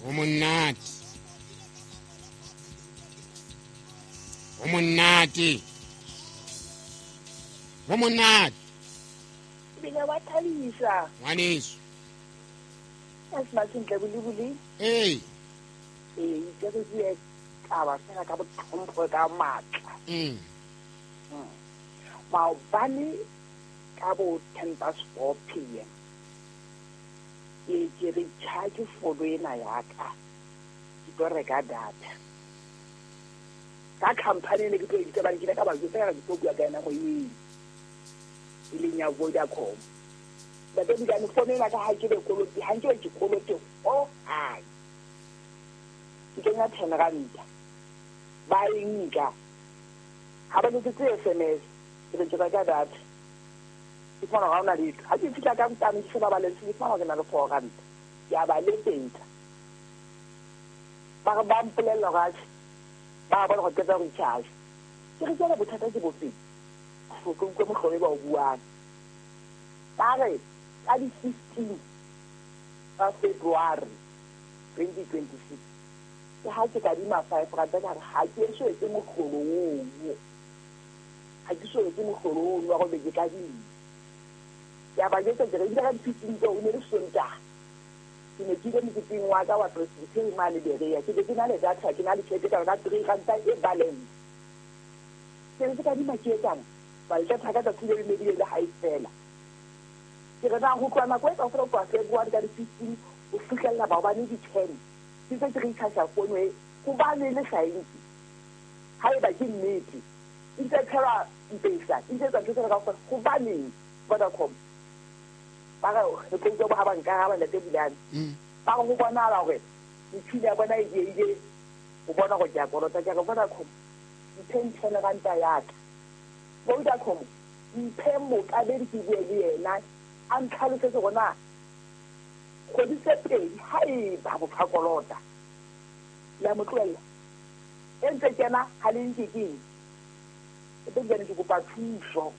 Ho monate, ho monate, ho monate. Ebile wa thabisa. Ngwaneso. A se masentle bolebole. Ee. Ee, ke re bue taba fela ka botlhompho ka matla. Maobane ka bo 4:10 p.m. ke recharge fono ena ya ka. Ke tlo reka data. Ka company ne ke tlo e bitsa bane ke ile ka ba jwetsa ka ke tlo bua ka yona go eng. E leng ya Vodacom. Ntate Bulane, fono ena ka ha ke be kolote, ha nke be ke kolote ho hang. Ke kenya 10 ranta. Ba e nka. Ha ba letsetse SMS, ke re ke reka data. Ke fumana hore ha hona letho. Ha ke fihla ka ntane ke sheba balance, ke fumana hore ke na le 4 ranta. Ke a ba letsetsa. Ba re ba mpolella hore atjhe, ba bona hore ke tla recharge. Ke re jwale bothata ke bofeng? Ke utlwe mohlolo e ba o buang. Ba re ka di 15 tsa February 2026 ke ha ke kadima 5 ranta, ka re ha ke eso etse mohlolo oo. Ha ke so etse mohlolo oo wa hore ke kadima. Ke a ba jwetsa ke re ebile ka di 15 tseo e ne le Sontaha. Ke ne ke ile moketeng wa ka wa Presbyterian mane Berea. Ke be ke na le data, ke na le tjhelete ka 3 ranta e balance. Ke re ke kadima ke etsang? Ba le data ka tsatsi le le le ha e fela. Ke re na ho tloha nako e kaofela ho tloha February ka di 15 ho fihlella maobane di 10. Ke ntse ke recharge fono e hobane le sa e nke. Haeba ke nnete, e ntse tshelwa mpesa, e ntse etsa ntho tsena kaofela, hobaneng Vodacom? Ba re re tlo utlwa ha ba nkaraba ntate Bulane. Ba re ho bonahala hore metjhini ya bona e diehile ho bona hore ke a kolota. Ke re Vodacom, mphe 10 ranta ya ka. Vodacom, mphe mokabedi ke bue le yena, a ntlhalosetse hore na kgwedi tse pedi haeba motho a kolota, le a mo tlohella. E ntse kena ha le nke ke eng? E teng jwale ke kopa thuso.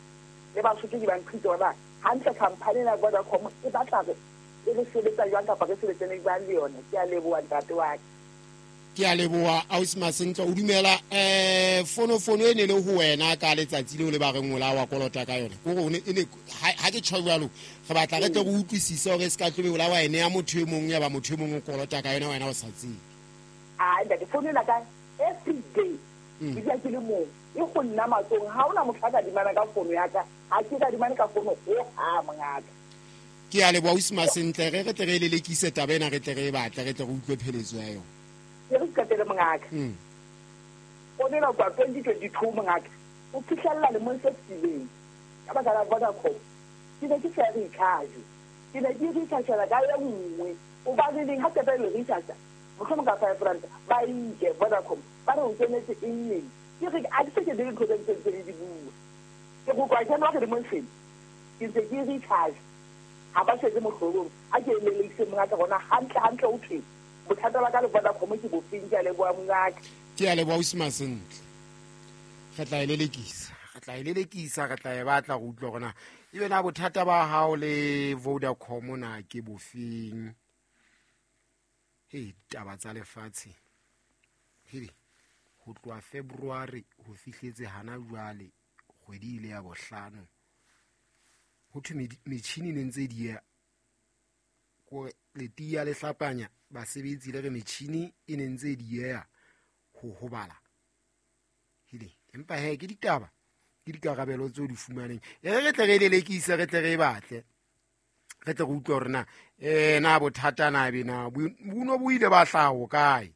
Le Basotho ke ba nthuse hore na hantle company ena ya Vodacom e batla re e re sebetsa jwang kapa re sebetsane jwang le yona. Ke a leboha ntate wa ka. Ke a leboha ausi Masentle. O dumela fono e ne le ho wena ka letsatsi leo le ba reng o la wa kolota ka yona. Kore o ne e ne ha ke tjho jwalo, re batla re tle re utlwisise hore se ka tlobe o la wa ene ya motho e mong ya ba motho e mong o kolota ka yona wena o sa tsebe. Ah, ntate, fono ena ka every day. Ke dula ke le mong. E go nna matsong, ha hona motho a ka dimana ka fono ya ka. Ha ke ka dimane ka fono ho ha mongaka. Ke a leboha ausi Masentle, re tle re lelekise taba ena, re tle re e batle, re tle re utlwe pheletso ya yona. Ke re qetele mongaka. Fono ena kwa 2022 mongaka. O fihlella lemong se fetileng. Ka baka la Vodacom. Ke ne ke sa recharge. Ke ne ke recharge ka e nngwe. Hobane neng ha qeta le recharge, mohlomong ka 5 ranta, ba e nke Vodacom. Ba re o kenetse eng neng? Ke re a ke se ke dire ntho tse ntse di bua. Ke go kwa January lemong sena. Ke ntse ke recharge. Ha ba setse mohlolong. A ke leleise mongaka rona hantle hantle o thweng. Bothata ba ka le Vodacom ke bofeng? Ke a leboha mongaka. Ke a leboha ausi Masentle. Re tla e lelekisa. Re tla e lelekisa, re tla e batla go utlwa hore na ebe na bothata ba hao le Vodacom na ke bofeng. Hei, taba tsa lefatshe. Hei, ho tloha February ho fihletse hana jwale kgwedi ile ya bohlano. Ho thwe metjhini ne ntse di ya kore letiya le hlapanya basebetsi le re metjhini e ne ntse di ya ho hobala. Hile, empa he ke ditaba, ke dikarabelo tseo di fumaneng. E re tle re lelekise, re tle re e batle. Re tle re utlwe hore na, na bothata na be na, bo no bo ile ba hlaha ho kae?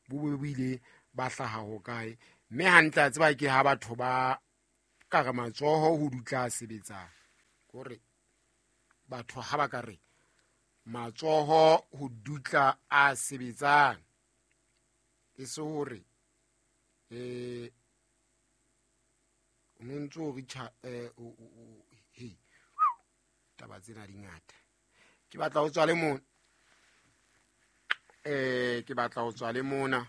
Bo bo bo ile ba hlaha ho kae? Mme hantle a tseba ke ha batho ba ka re matsoho ho dutla sebetsang. Kore batho ha ba ka re matsoho ho dutla a sebetsang. E se hore, o no ntso o recha, o, he, taba tsena di ngata. Ke batla ho tswa le mona. Ke batla ho tswa le mona.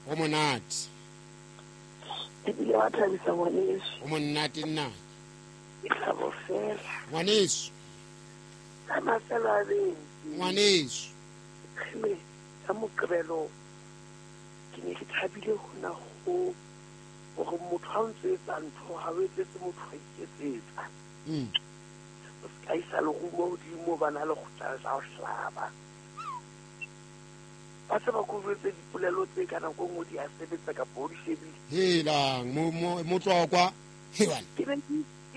Ho monate. Ebile wa thabisa ngwaneso. Ho monate nna. Ke thabo fela. Ngwaneso. Ka mafelo a beke. Ngwaneso. Kgele, ka Moqebelo ke ne ke thabile hona ho hore motho ha o ntso etsa ntho ha o etsetse motho wa iketsetsa. O se ka isa lerumo hodimo bana le kgutla tla o hlaba. Ba se ba ko jwetse dipolelo tse ka nako e nngwe di a sebetsa kapa o di shebile. Helang motlokwa hewana. Ke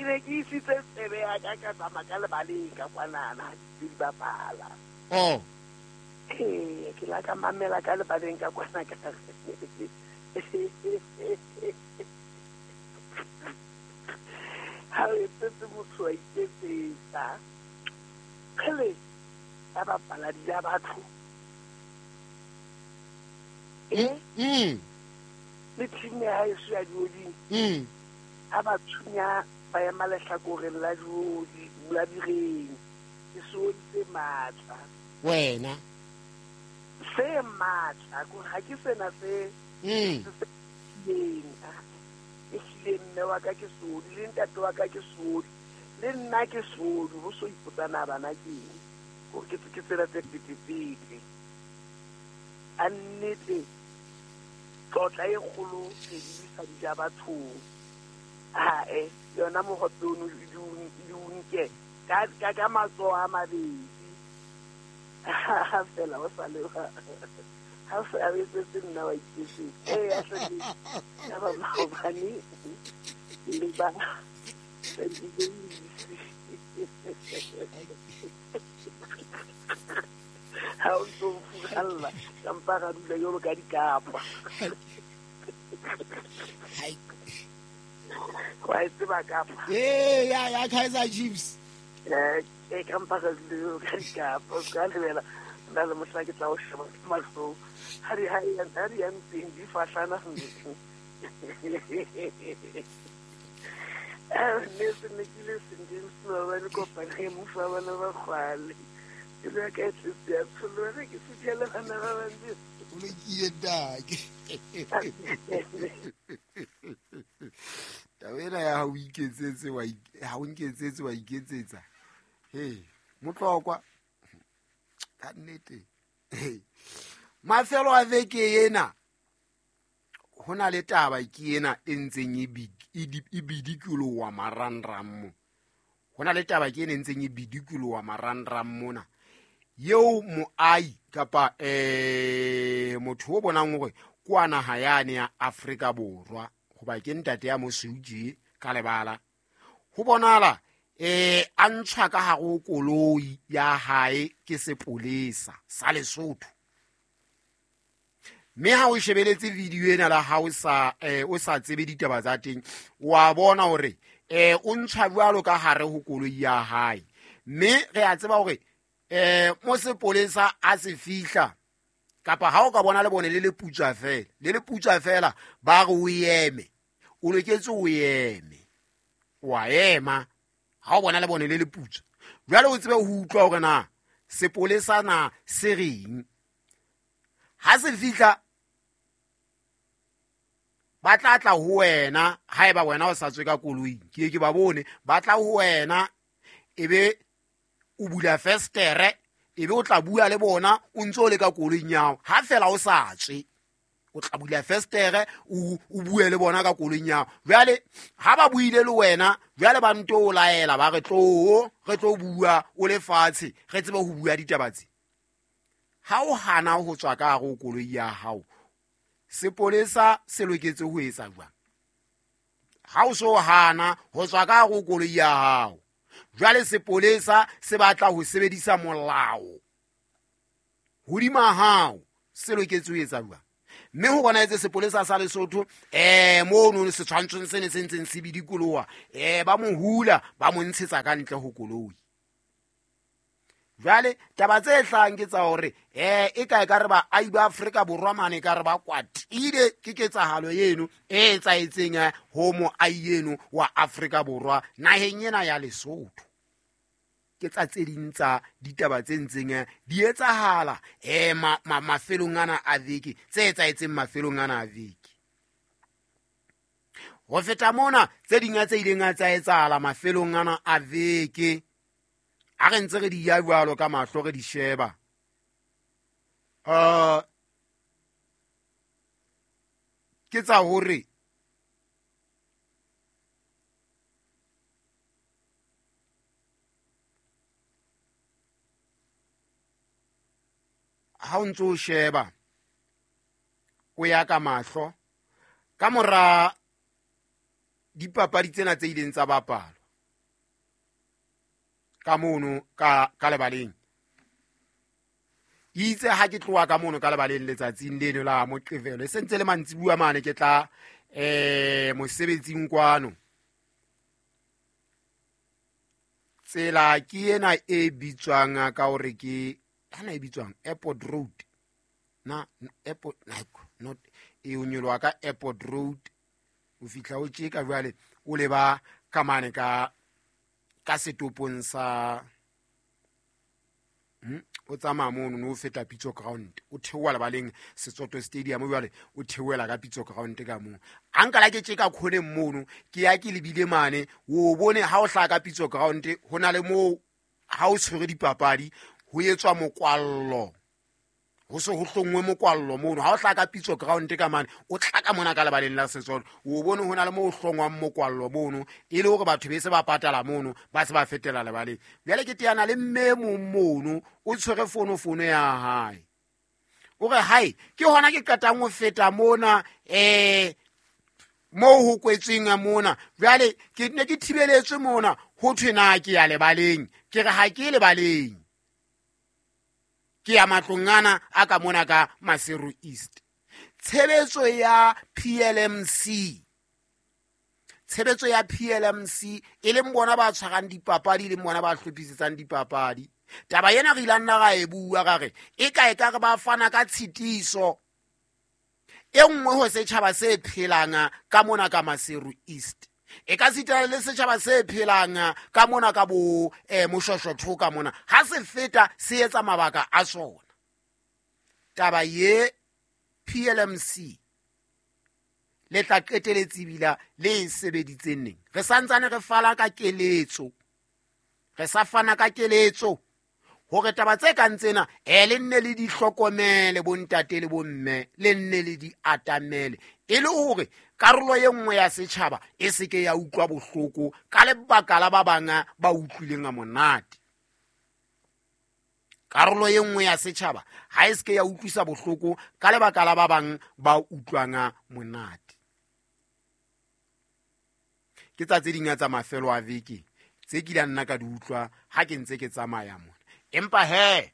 ne ke isitse tsebe ya ka ka tsamaya ka lebaleng ka kwanana ha di di bapala. Oh. Ee, ke la ka mamela ka lebaleng ka kwana ka ha o etsetse motho wa iketsetsa. Kgele, ba bapala di ja batho. Le team ya haeso ya dioding. Ha ba thunya ba ema lehlakoreng la diodi, la direng. Ke seodi se matla. Wena. Se matla, ko ha ke sena se se eng. Ehlile mme wa ka ke seodi, le ntate wa ka ke seodi, le nna ke seodi, ho so ipotsana bana ke eng. Hore ke tsela tse petepete. A nnete tlotla e kgolo re lebisa di ja bathong. Hae, yona mohope ono di o nke ka matsoho a mabedi. Ha fela o sa le ha fela o etsetse nna wa iketsetsa. Ee, ya hle ya ba maobane le ba ha o ntso o furalla ka mpa ra dula jwalo ka dikapa. Wa e tseba kapa? Ee, ya Kaizer Chiefs. Ee, ka mpa ra dula jwalo ka dikapa. O ska lebela nna le mohla ke tla o sheba ka mahlong. Ha di ha di yang teng di fahlana. Ne se ne ke le St James maobane kopane mofa bana ba kgwale. Pelo ya ka e tletse ya tsholoha ke fitlhele bana ba bantsi. O lokile ntate. Taba ena ya ha o iketsetse wa ha o nketsetse wa iketsetsa. He, motlokwa. Ka nnete. Mafelo a veke ena ho na le taba ke ena e ntseng e bidikoloha marangrang mo. Ho na le taba ke ena e ntseng e bidikoloha marangrang mona. Eo moahi kapa motho o bonang hore kwa naha yane ya Afrika Borwa hoba ke ntate ya mosweu tje ka lebala. Ho bonahala a ntshwa ka hare ho koloi ya hae ke sepolesa sa Lesotho. Mme ha o shebeletse video ena la ha o sa o sa tsebe ditaba tsa teng, wa bona hore o ntshwa jwalo ka hare ho koloi ya hae. Mme re a tseba hore mo sepolesa a se fihla kapa ha o ka bona le bone le le putswa fela, le le putswa fela ba re o eme, o loketse o eme, wa ema ha o bona le bone le le putswa. Jwale o tsebe ho utlwa hore na sepolesa na se reng. Ha se fihla ba tla tla ho wena, haeba wena o sa tswe ka koloing, ke ke ba bone ba tla ho wena, ebe o bula festere, ebe o tla bua le bona o ntso le ka koloing ya hao. Ha fela o sa tswe, o tla bula festere o bue le bona ka koloing ya hao. Jwale ha ba buile le wena, jwale ba nto o laela ba re tlo re tlo bua o le fatshe, re tsebe ho bua ditaba tse. Ha o hana ho tswa ka hare ho koloi ya hao, sepolesa se loketse ho etsa jwang? Ha o so hana ho tswa ka hare ho koloi ya hao, jwale sepolesa se batla ho sebedisa molao hodima hao, se loketse ho etsa jwang? Mme ho bona etse sepolesa sa Lesotho mono setshwantshong se ne se ntseng se bidikoloha, ba mo hula ba mo ntshetsa ka ntle ho koloi. Jwale taba tse hlahang ke tsa hore e kae ka re baahi ba Afrika Borwa mane ka re ba kwatile ke ketsahalo eno e etsahetseng ho moahi eno wa Afrika Borwa naheng ena ya Lesotho. Ke tsa tse ding tsa ditaba tse ntseng di etsahala mafelong ana a veke, tse etsahetseng mafelong ana a veke. Ho feta mona tse ding tse ileng tsa etsahala mafelong ana a veke, ha re ntse re di ya jwalo ka mahlo re di sheba. Ke tsa hore ha o ntso sheba o ya ka mahlo ka mora dipapadi tsena tse ileng tsa bapalwa ka mono ka lebaleng. Itse ha ke tloha ka mono ka lebaleng letsatsing leno la Moqebelo, e sentse le mantsibuya mane ke tla mosebetsing kwano. Tsela ke ena e bitswang ka hore ke hana e bitswang Airport Road. Na Airport not e o nyoloha ka Airport Road o fihla o tjeka jwale o leba ka mane ka setopong sa o tsamaya mono no feta Pitso Ground o theoha lebaleng Setsoto Stadium jwale o theohela ka Pitso Ground ka moo. A nka la ke tjeka khoneng mono ke ya ke lebile mane o bone ha o hlaha ka Pitso Ground ho na le moo ha o tshwere dipapadi ho etswa mokwallo, ho se ho hlongwe mokwallo mono. Ha o hlaha ka Pitso Ground ka mane o tla ka mona ka lebaleng la Setsoto o bone ho na le moo ho hlongwang mokwallo mono e le hore batho be se ba patala mono ba se ba fetela lebaleng. Jwale ke teana le mme mong mono o tshwere fono ya hae, o re hae ke hona ke qetang ho feta mona moo ho kwetsweng mona, jwale ke ne ke thibeletswe mona ho thwe na ke ya lebaleng. Ke re ha ke lebaleng, ke ya matlong ana a ka mona ka Maseru East. Tshebetso ya PLMC, tshebetso ya PLMC e leng bona ba tshwarang dipapadi, e leng bona ba hlophisetsang dipapadi. Taba ena re ile nna ra e bua ra re e ka e ka re ba fana ka tshitiso e nngwe ho setjhaba se phelang ka mona ka Maseru East. E ka sitana le setjhaba se phelang ka mona ka bo Moshoshotho ka mona ha se feta se etsa mabaka a sona. Taba ye PLMC le tla qeteletse bila le e sebeditseng neng. Re santsane re fana ka keletso, re sa fana ka keletso hore taba tse kang tsena le nne le di hlokomele bontate le bomme, le nne le di atamele e le hore karolo e nngwe ya setjhaba e se ke ya utlwa bohloko ka lebaka la ba bang ba utlwileng a monate. Karolo e nngwe ya setjhaba ha e se ke ya utlwisa bohloko ka lebaka la ba bang ba utlwang monate. Ke tsa tse ding tsa mafelo a veke tse ke la nna ka di utlwa ha ke ntse ke tsamaya mona. Empa he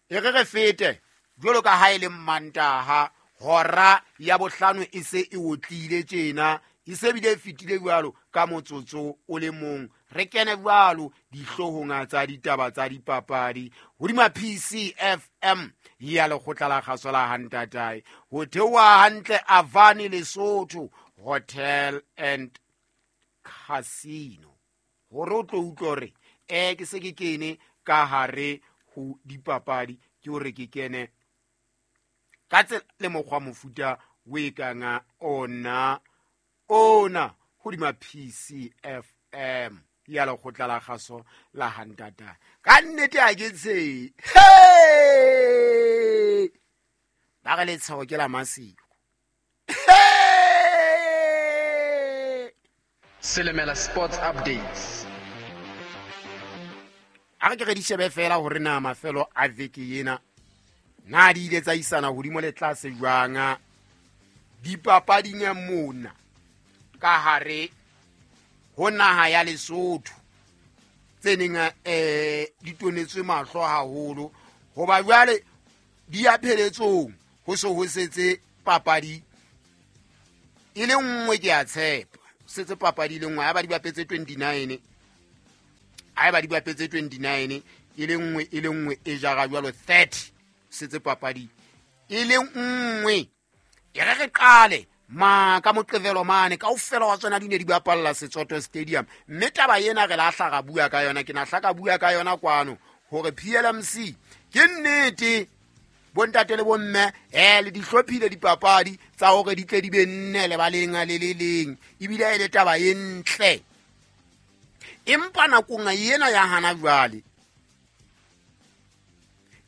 e re re fete jwalo ka ha e le Mantaha hora ya bohlano e se e otlile tjena, e se bile e fetile jwalo ka motsotso o le mong. Re kene jwalo dihloohong tsa ditaba tsa dipapadi hodima PCFM ya lekgotla la kgaso la Hantatae ho theoha hantle Avani Lesotho Hotel and Casino. Hore o tlo utlwe hore ke se ke kene ka hare ho dipapadi, ke hore ke kene ka tsela le mokgwa mofuta o e kang ona hodima PCFM ya lekgotla la kgaso la Hantata. Ka nnete ha ke tshehe, ba re letsheho ke la Maseko. Selemela Sports Updates. A re ke re di shebe fela hore na mafelo a veke ena na di ile tsa isana hodimo le tlase jwang dipapading mona ka hare ho naha ya Lesotho tse neng di tonetswe mahlo haholo hoba jwale di ya pheletsong ho se ho setse papadi e le nngwe. Ke a tshepa setse papadi e le nngwe ha ba di bapetse 29, ha ba di bapetse 29 e le nngwe e jara jwalo 30 setse papadi e le nngwe. E re re qale ma ka Moqebelo mane kaofela wa tsona di ne di bapalla Setsoto Stadium, mme taba ena re la hla ra bua ka yona. Ke na hla ka bua ka yona kwano hore PLMC ke nnete bontate le bomme le di hlophile dipapadi tsa hore di tle di be nne lebaleng le le leng, ebile e le taba e ntle. Empa nakong ena ya hana jwale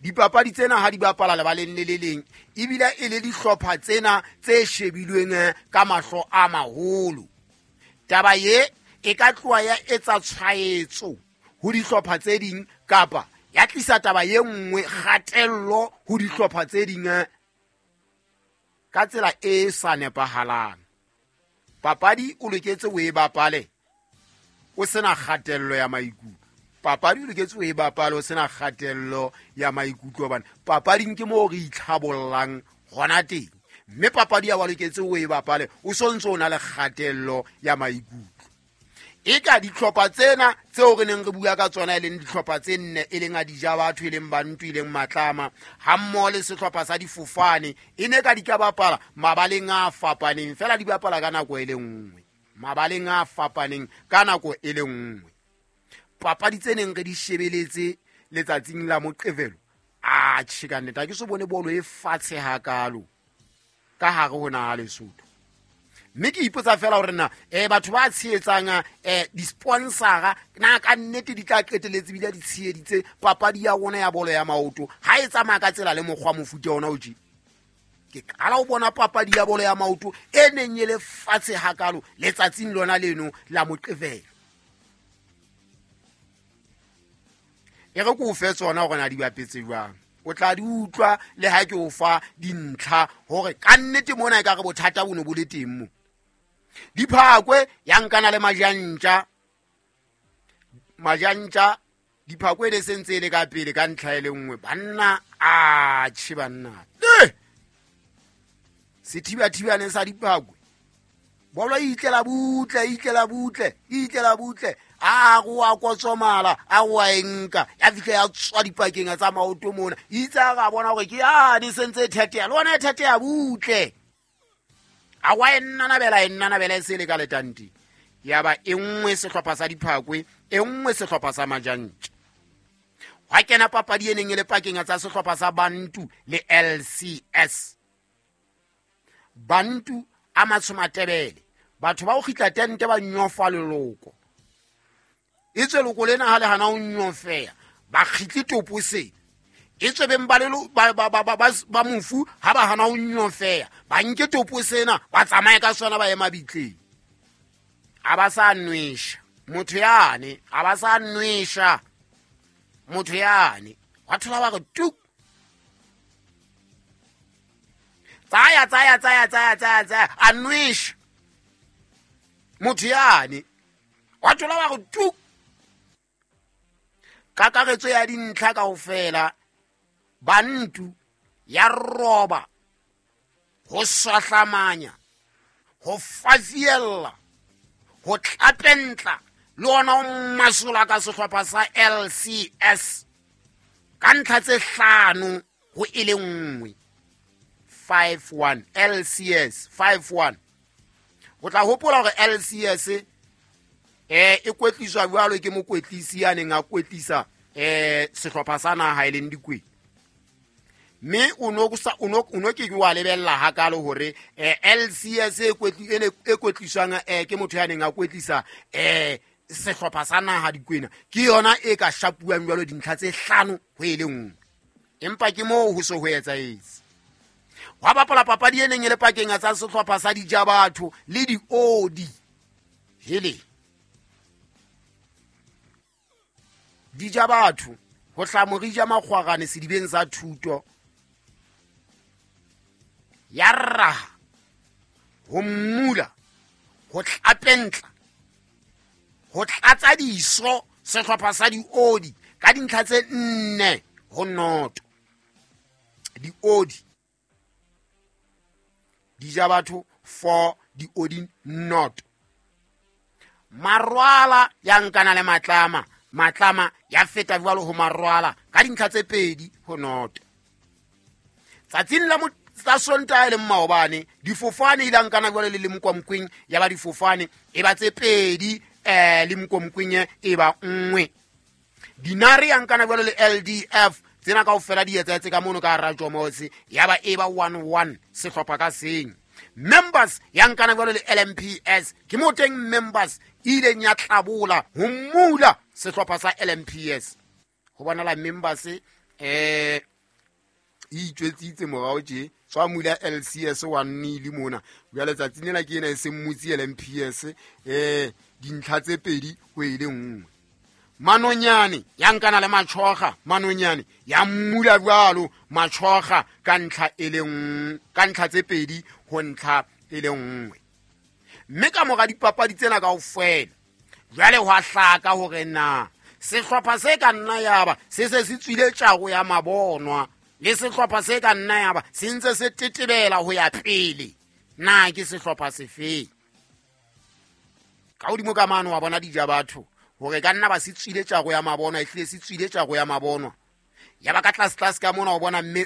Dipapadi tsena ha di bapala lebaleng le le leng, ebile e le dihlopha tsena tse shebilweng ka mahlo a maholo. Taba ye e ka tloha ya etsa tshwaetso ho dihlopha tse ding kapa ya tlisa taba ye nngwe kgatello ho dihlopha tse ding ka tsela e sa nepahalang. Papadi o loketse o e bapale o sena kgatello ya maikutlo. Papadi o loketse o e bapale o sena kgatello ya maikutlo, hobane papading ke moo re itlhabollang hona teng, mme papadi ya wa loketse o e bapale o sontse o na le kgatello ya maikutlo. E ka dihlopha tsena tseo re neng re bua ka tsona, e leng dihlopha tse nne, e leng a dija batho, e leng Bantu, e leng Matlama, ha mmoho le sehlopha sa difofane, e ne ka di ka bapala mabaleng a fapaneng, fela di bapala ka nako e le nngwe, mabaleng a fapaneng ka nako e le nngwe. Papadi tse neng re di shebeletse letsatsing la Moqebelo, a tjhe ka nnete ha ke so bone bolo e fatshe hakalo ka hare ho naha Lesotho. Mme ke ipotsa fela hore na batho ba tshehetsang di-sponsora na ka nnete di tla qeteletse bile di tsheheditse papadi ya rona ya bolo ya maoto ha e tsamaya ka tsela le mokgwa mofuta ona o tje. Ke qala ho bona papadi ya bolo ya maoto e neng e le fatshe hakalo letsatsing lona leno la Moqebelo. E re ke o fe tsona hore na di bapetse jwang, o tla di utlwa le ha ke o fa dintlha hore ka nnete mona e ka re bothata bo ne bo le teng mo. Diphakwe ya nkana le Majantja, Majantja diphakwe ne se ntse e le ka pele ka ntlha e le nngwe. Banna a tjhe banna, sethibathibane sa diphakwe bolo e itlela butle, e itlela butle, e itlela butle, a go a kotsomala, a go a enka, ya fihla ya tswa dipakeng tsa maoto mona. Itse a ga bona hore ke a di sentse e theteya, le ona e theteya butle, a wa e nnanabela, e nnanabela e se le ka letanti. Ya ba e nngwe sehlopha sa diphakwe, e nngwe sehlopha sa Majantja. Hwa kena papadi e neng e le pakeng tsa sehlopha sa Bantu le LCS. Bantu a matshomatebele, batho ba o kgitla tente ba nyofa leloko, e tswe loko lena ha le hana ho nyofeya ba kgitle topo se, e tswe beng ba lelo ba mofu ha ba hana ho nyofeya ba nke topo sena ba tsamaye ka sona ba ye mabitleng. A ba sa nwesha motho yane, a ba sa nwesha motho yane, wa thola ba re tuk, tsaya tsaya tsaya tsaya tsaya tsaya, a nwesha motho yane, wa thola ba re tuk. Kakaretso ya dintlha kaofela, Bantu ya roba ho swahlamanya, ho fafiella, ho tlapentla le ona ho masola ka sehlopha sa LCS ka ntlha tse hlano ho e le nngwe, 5-1 LCS 5-1. O tla hopola hore LCS e kwetliswa jwalo ke mokwetlisi ya neng a kwetlisa sehlopha sa naha e leng Dikwena, mme o no ke ke wa lebella hakalo hore LCS e kwetliswang ke motho ya neng a kwetlisa sehlopha sa naha Dikwena ke yona e ka shapuwang jwalo dintlha tse hlano ho e le nngwe. Empa ke moo ho so ho etsahetse. Hwa bapala papadi e neng e le pakeng tsa sehlopha sa Dijabatho le Diodi. Hele, Dijabatho ho hla morija makgwarane sedibeng sa thuto, ya raha ho mmula, ho tlapentla, ho tlatsa diso sehlopha sa Diodi ka dintlha tse 4-0. Diodi Dijabatho 4, Diodi 0. Marwala ya nkana le Matlama, Matlama ya feta jwalo ho Marwala ka dintlha tse 2-0. Tsatsing la Sontaha e leng maobane, difofane ile nkana jwalo le Lemkomkweng, ya ba difofane e ba tse 2, Lemkomkweng e ba 1. Dinare ya nkana jwalo le LDF, tsena kaofela di etsahetse ka mono ka hara Jomotse, ya ba e ba 1-1 sehlopha ka seng. Members ya nkana jwalo le LMPS, ke mo teng Members e ileng ya tlabola ho mmula sehlopha sa LMPS. Ho bonala Members E itjwetsitse morao tje tswa mula LCS wa nnile mona jwale tsatsing lena ke ena e seng motse LMPS dintlha tse pedi ho e le nngwe. Manonyane ya nkana le Machoga, Manonyane ya mmula jwalo Machoga ka ntlha e le nngwe, ka ntlha tse pedi ho ntlha e le nngwe. Mme ka mora dipapadi tsena kaofela jwale hwa hlaka hore na sehlopha se ka nna yaba se se se tswile tjaro ya mabonwa le sehlopha se ka nna yaba se ntse se tetebela ho ya pele, na ke sehlopha sefeng? Ka hodimo ka mano wa bona dija batho hore ka nna ba se tswile tjaro ya mabonwa, e hlile se tswile tjaro ya mabonwa. Ya ba ka tlase tlase ka mona o bona mme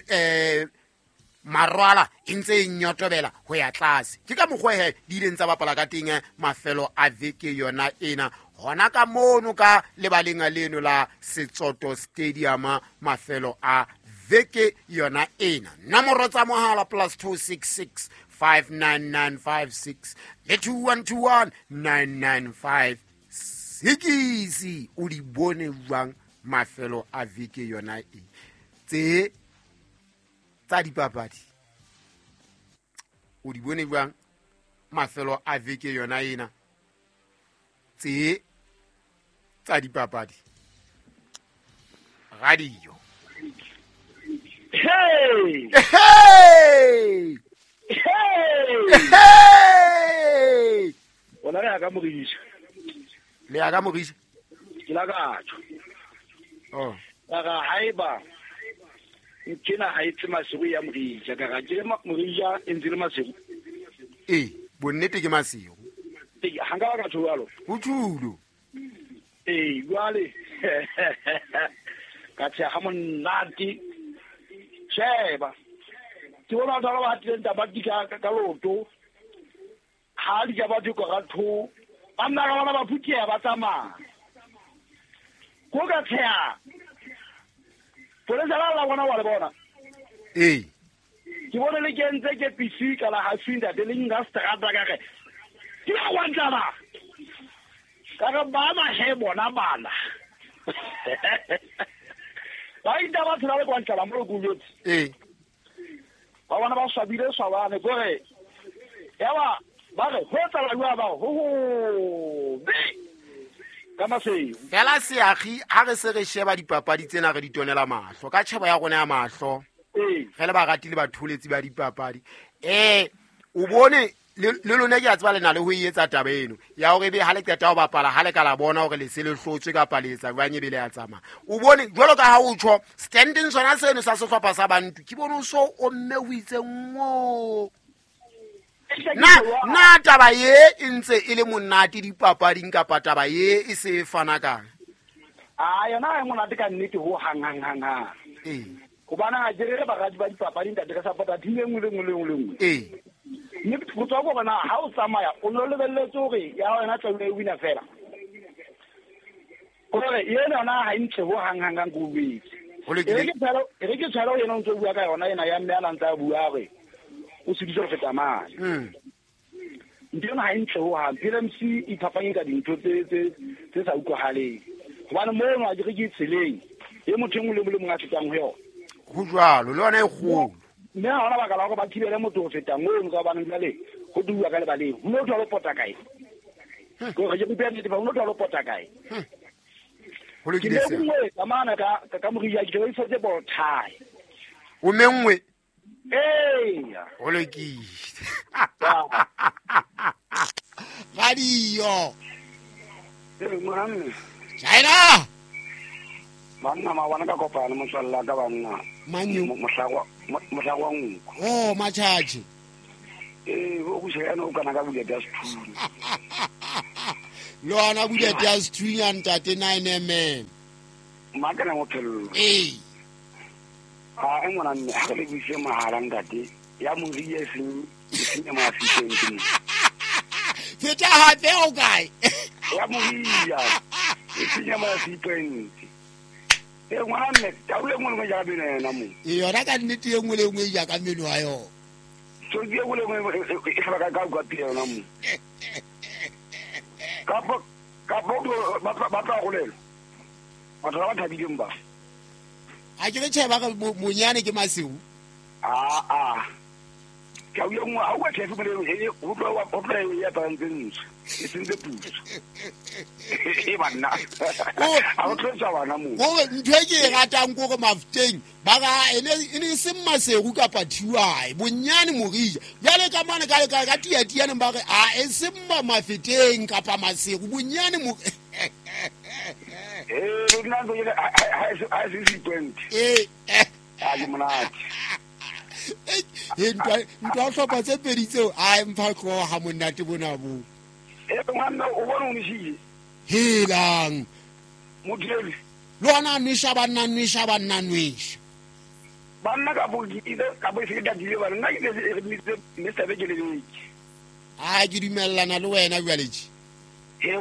marwala e ntse e nyotobela ho ya tlase. Ke ka mokgwa he di ileng tsa bapala ka teng mafelo a veke yona ena hona ka mono ka lebaleng leno la Setsoto Stadium mafelo a veke yona ena. Nomoro tsa mohala +266 59956 le 2121 995 6. O di bone jwang mafelo a veke yona e tse tsa dipapadi? O di bone jwang mafelo a veke yona ena tse tsa dipapadi? Radio. Hey! Hey! Hey! Hey! Bona re ya ka Morisha. Le ya ka Morisha? Ke la ka tjho. Oh. Ka ra haeba nkena ha itse Masego ya Morisha, ka ra ke Morisha e ntse le Masego. Eh, bonnete ke Masego. Ee, ha nka ba ka tjho jwalo. Ho tjhulo. Ee, jwale ka tsheha ha monate. Sheba. Ke bona batho ba hatileng tamati ka loto. Ha di ja batho ka tho. Ba nna ka bona ba phutheha ba tsamaya. Ko ka tsheha. Polesa la bona wa le bona. Ee. Ke bone le kentse ke PC ka la ha sinda le nka strata ka re. Ke ba wa ntlaba. Ka re ba ba he bona bana. Ba inda ba tshela le kwa ntlaba mo go jotse. Ee. Ba bona ba swabile swabane gore ya ba ba re ho tsala jwa ba ho ho be ka Masego. Fela seagi ha re se re sheba dipapadi tsena re di tonela mahlo ka tjhebo ya rona ya mahlo. Ee. Re le barati le batholetsi ba dipapadi. O bone le lona ke a tseba le na le ho e etsa taba eno ya hore ebe ha le qeta ho bapala ha le ka la bona hore le se le hlotswe kapa le etsa jwang ebe le ya tsamaya. O bone jwalo ka ha o tjho standing sona seno sa sehlopha sa Bantu ke bone o so o mme o itse ngo. Na taba ye e ntse e le monate dipapading kapa taba ye e se e fana kang? A yona e monate ka nnete ho hang hang hang hang. Ee. Hobane ha ke re baradi ba dipapadi ntate re support-a team e nngwe le nngwe le nngwe le nngwe. Ee. Mme go tswa ko bona ha o tsamaya o no lebelletse hore ya wena tla e wina fela. Gore yena yona ha e ntle ho hang hang hang go betse. Ho lokile. E re ke tshwara yena o ntse o bua ka yona ena ya mme a ntse a bua hore o seditse ho feta mane. Ntho ena ha e ntle ho hang. PLMC e phapanye ka dintho tse sa utlwahaleng. Hobane mono ha ke re ke tseleng e motho e mong le mong a fetang ho yona. Ho jwalo le yona e kgolo. Mme ha hona baka la hore ba thibele motho ho feta mono ka hobane jwale ho duwa ka lebaleng. Ho no thwa lo pota kae? Ke re ke bua nnete fa ho no thwa lo pota kae? Ho lokile Ke se. menngwe ka mana ka Moria ke re isetse bothai. O menngwe? Ee. Ho lokile. Radio. Ee, ngwana. China. Banna ma bona ka kopana motswalla ka banna. Manyu. Mohlako wa nku. Oh, matjhatjhe. Ee, o go shela o kana ka bulete ya sethunya. Le ona bulete ya sethunya ntate 9mm. Mma kana mo phello. Ee. Ha e ngwana mme ha re le buise mahala ntate ya Moria e seng ya Mafikeng ke mo. Feta hape o kae? Ya Moria e seng ya Mafikeng. E ngwana mme tau e nngwe le nngwe jaaka meno ya yona mo. E yona ka nnete e nngwe le nngwe jaaka meno ya yona. Tsotsi e nngwe le nngwe e hlaba ka kwa pele yona mo. Kapo ba tla rolelwa. Batho ba ba thabileng ba. Ha ke re tjhe ba re monyane ke Masego. A ka o yengwe ha o tla fumana e o tlo ya tantse ntse e sentse puso e banna a o tlo tswa bana mo gore ntho e ke e ratang kore Mafeteng ba ga ene e seng Maseru kapa Thiwae bonyane Morija jale ka mane ka ka tiatianeng ba re a e seng Mafeteng kapa Maseru bonyane mo nna ntse ke ha se 20 a ke monate ntwa hlopha tse pedi tseo a mpha tloha monate bona bo ngwana o bona o nishile helang motlele le ona nwesha banna nwesha banna nwesha banna ka bo ka bo se ka dile bana nna ke re Mr. Bekele ke a ke dumellana le wena jwale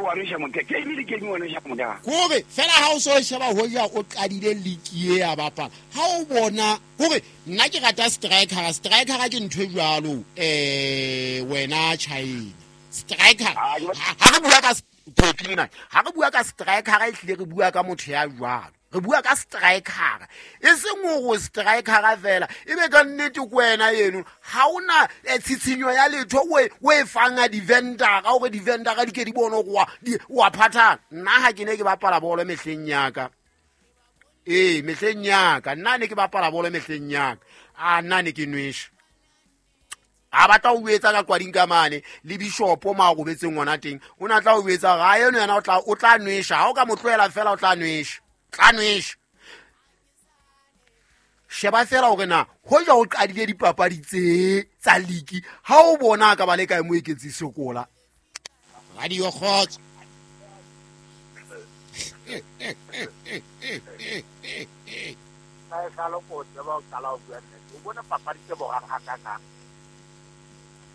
wa nwesha motho ke ile ke ngwana nwesha motho kore fela ha o so sheba ho ja o qadile league ya bapala ha o bona kore nna ke rata striker ke ntho e jwalo wena China striker ha re bua ka Potlina ha re bua ka striker e hlile re bua ka motho ya jwalo re bua ka striker e seng go striker fela e be ka nnete ko wena eno ha ona tshitshinyo ya letho o e fanga di-vendor ka gore di-vendor di ke di bone gore wa phathana. Nna ha ke ne ke bapala bolo mehleng yaka mehleng yaka nna ne ke bapala bolo mehleng yaka a nna ne ke nwesha a batla o etsa ka kwading ka mane le bishopo ma robetseng ngwana teng o na tla o etsa ga eno yena o tla nwesha ha o ka mo tlohela fela o tla nwesha tla nwesha sheba fela hore na hoja o qadile dipapadi tse tsa league ha o bona ka ba le kae mo eketsi sokola Radio Kgotso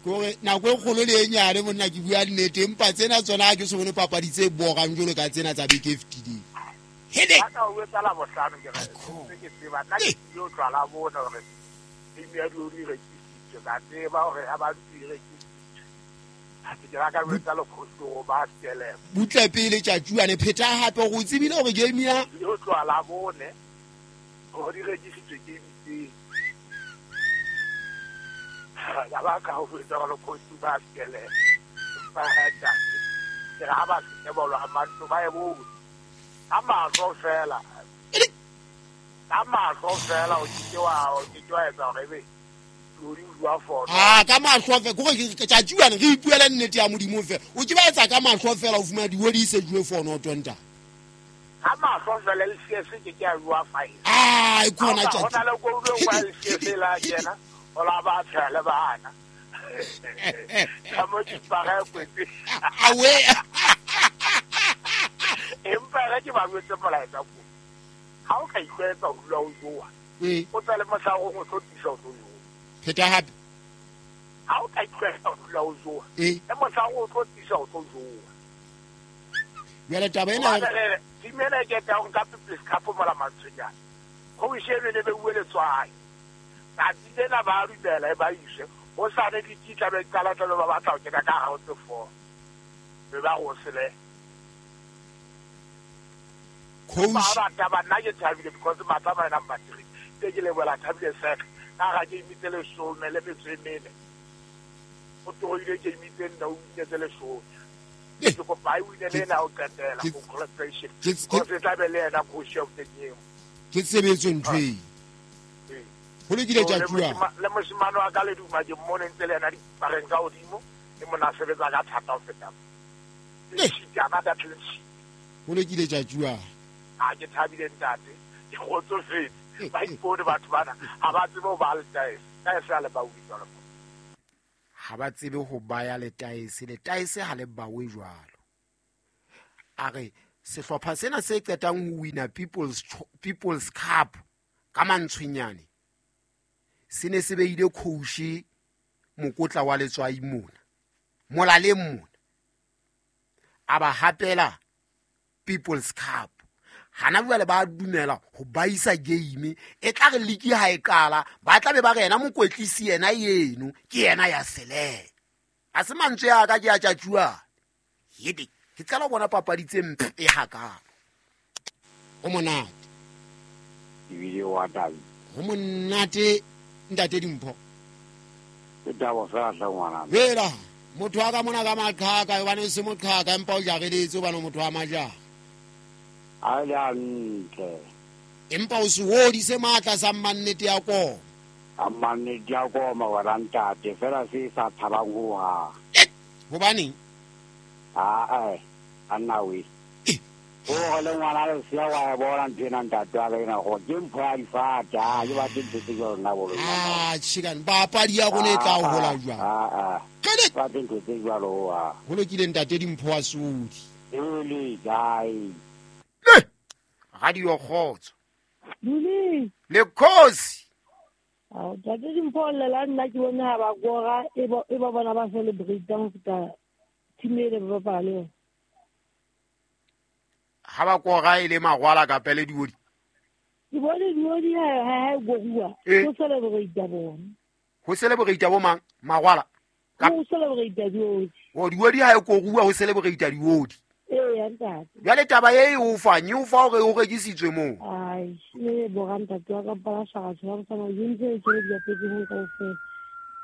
kore nako e kgolo le e nyane monna ke bua nnete empa tsena tsona ha ke se bone papadi tse borang jwalo ka tsena tsa beke e fetileng. Hele ka o etsa la bohlano ke re ke tseba nna ke yo tlwala bona hore team ya di rekisitse ka tseba hore ha ba di rekisitse ha ke ra ka etsa le khoso ba tsele butle pele tjatjuane pheta hape go tsebile hore game ya yo tlwala bone hore di rekisitse ke di ya ba ka ho etsa le khoso ba tsele ba heta ke ra ba se bolo ha matlo ba e bo ka mahlo fela ka mahlo fela o ke wa etsa hore ebe lori bua fono ka mahlo fela gore ke tjatjuane re ipuela nnete ya Modimo fela o ke ba etsa ka mahlo fela o fumana diwodi se jwe fono tonta ka mahlo fela le CS ke ke a bua file e khona tjatju hona le go bua le CS la kena o la ba tshele bana ka mo ke para kwetse awe empa re ke ba botse molaetsa ko ha o ka ikwetsa ho dula o joa o tsale mohla o go tlotisa o tlo joa pheta hape ha o ka ikwetsa ho dula o joa e mohla o tlotisa o tlo joa jwale taba ena timela ke tla o nka People's Cup mola Mantshonyane go ishebe le be bue letswai tsatsi lena ba dumela e ba ise ho sane dititla be qala tla ba batla ho kena ka ha o tse four be ba go sele coach ba ba nna ke thabile because matla ba number 3 ke ke lebola thabile sek ka ga ke imitse le shome le metso e mene o tlohile ke imitse nna o imitse le shome ke kopa e wine le ena o qetela congratulation because tla be le ena coach of the game ke tsebetso ntho e ho lokile tjatjua le moshimane wa ka le duma ke mmone ntse le ena dipareng ka hodimo e mona sebetsa ka thata ho feta ho lokile tjatjua a ke thabile ntate ke kgotsofetse ba ipone batho bana ha ba tsebe ho ba letaese taese ha le bawe jwalo ha ba tsebe ho baya letaese letaese ha le bawe jwalo a re sehlopha sena se qetang ho wina People's Cup ka Mantshwenyane se ne se beile coach mokotla wa letswai mona molaleng mona a ba hapela People's Cup hana jwale ba dumela ho baisa game e tla re league ha e qala ba tla be ba re yena mokwetlisi yena yeno ke yena ya sele a se mantswe a ka ke a tjatjua hede ke qala ho bona papadi tse mpe hakalo ho monate ebile wa tabi ho monate Ntate Dimpho. Ke tabo fela hle ngwana. Hela motho wa ka mona ka maqhaka hobane o se moqhaka empa o jareletse hobane motho wa majara. A le hantle. Empa o se hodise matla sa mannete ya koma. A mannete ya koma wena ntate fela se sa thabang ho ha. Hobaneng? A anna we. O le ngwana le sia wa bona ntho ena ntate wa ka ena go ke mpho ya difata ha ke batle ntho tse jwalo nna bolo. Ah chicken papadi ya rona e tla o hola jwang? Ke batle ntho tse jwalo ha. Ho lokile ntate Dimpho wa Sodi. Ele kae? Radio Kgotso. Duli. Le khosi. Ah, ntate Dimpho lela nna ke bone ha ba kora e ba bona ba celebrate ho feta team e le ba bapala. Ha ba kora e le magwala ka pele diodi. Ke bone diodi ha goruwa. Ho celebrate bona. Ho celebrate bo mang? Magwala. Ho celebrate diodi. O diodi ha e koruwa ho celebrate diodi. Ee ntate. Jwale taba e o fa nyu fa hore o rekisitswe moo. Ai, le bo ntate wa ka pala shaka tswa tsana yintse e tsele di apetse ho kaofela.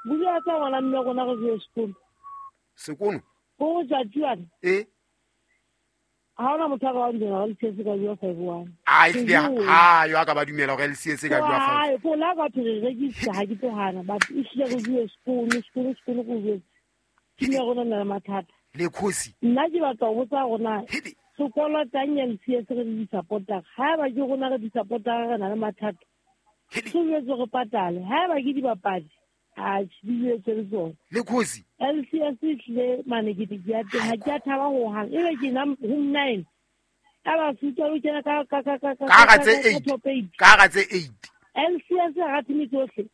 Bua tsa ngwana mme rona re je sekolo. Sekolo? Ho ja tjuana. Eh. Ha ona motho a ka ba dumela hore LCS ka jwa 5-1. Ai hle ha yo a ka ba dumela hore LCS ka jwa 5. Ai, ko la ka re rekisa ha ke tlohana but e hlile re jwe sekolo go jwe. Ke ne rona na le mathata. Le khosi. Nna ke batla ho botsa rona sekolo tang ya LCS re di supporta. Ha ba ke rona re di supporta re na le mathata. Se jwetse re patale. Ha ba ke dibapadi a di jwetse le tsona. Le khosi. LCS e tlile mane ke di ya teng ha ke a thaba ho hang. Ebe ke nna home 9. A ba suta lo kena ka ka tse 8. Ka tse 8. LCS ga team tsohle.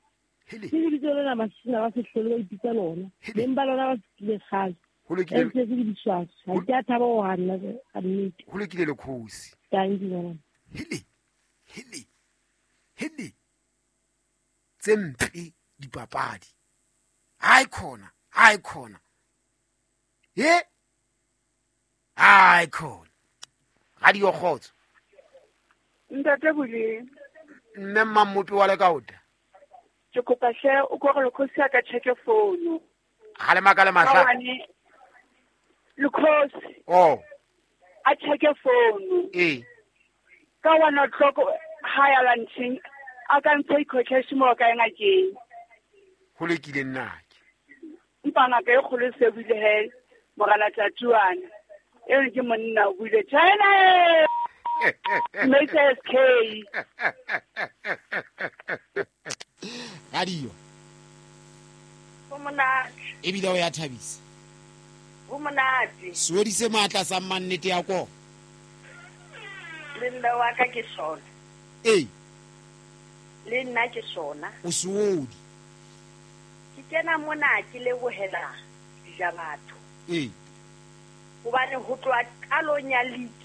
Ke lebitso lena masina ba sehlole ba ipitsa lona. Beng ba lona ba le kgale. Ho lokile LCS ke diswaswa. Ha ke a thaba ho hang ka nnete. Ho lokile le khosi. Thank you ngwana. Hele. Hele. Tse mpe dipapadi. Hai khona. He? Hai khona. Radio Kgotso. Ntate Bule. Mme Mmamopi wa Lekaota. Ke kopa hle o kore lekhosi a ka check phone. Ha le makale mahla. Lekhosi. Oh. A check phone. Eh. Ka 1 o'clock ha ya lunching a ka ntsha cash mo ka ngakeng. Ho lokile nna ke. Empa ngaka e kgolo se buile he morana tatuana. E ke monna o buile China. Mr. SK. Radio. Ho monate. Ebile o ya thabisa. Ho monate. Sewedise matla sa mannete ya ko. Le nna wa ka ke sona. Eh. Le nna ke sona. O seodi. Ke kena mona ke lebohela dijabatho. Eh. Hobane ho tloha qalong ya league.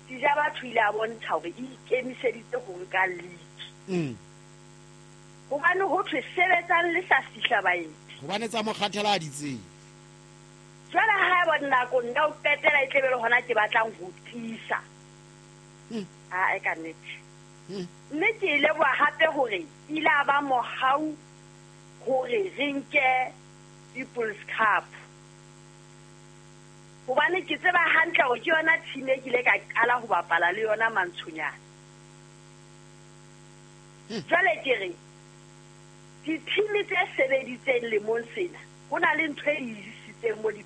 Dijabatho ile a bontsha hore e ikemiseditse ho nka league. Hobane ho thwe sebetsang le sa fihla baeti. Hobane tsa mokgathela a ditseng. Jwale ha ba nako nna o qetela e tlebe le hona ke batlang ho tiisa. A e ka nnete. Mme ke ile bua hape hore ile a ba mohau hore re nke People's Cup. Hobane ke tseba hantle hore ke yona team e ke ile ka qala ho bapala le yona Mantshonyana. Jwale ke re di-team tse sebeditseng lemong sena ho na le ntho e isitseng mo di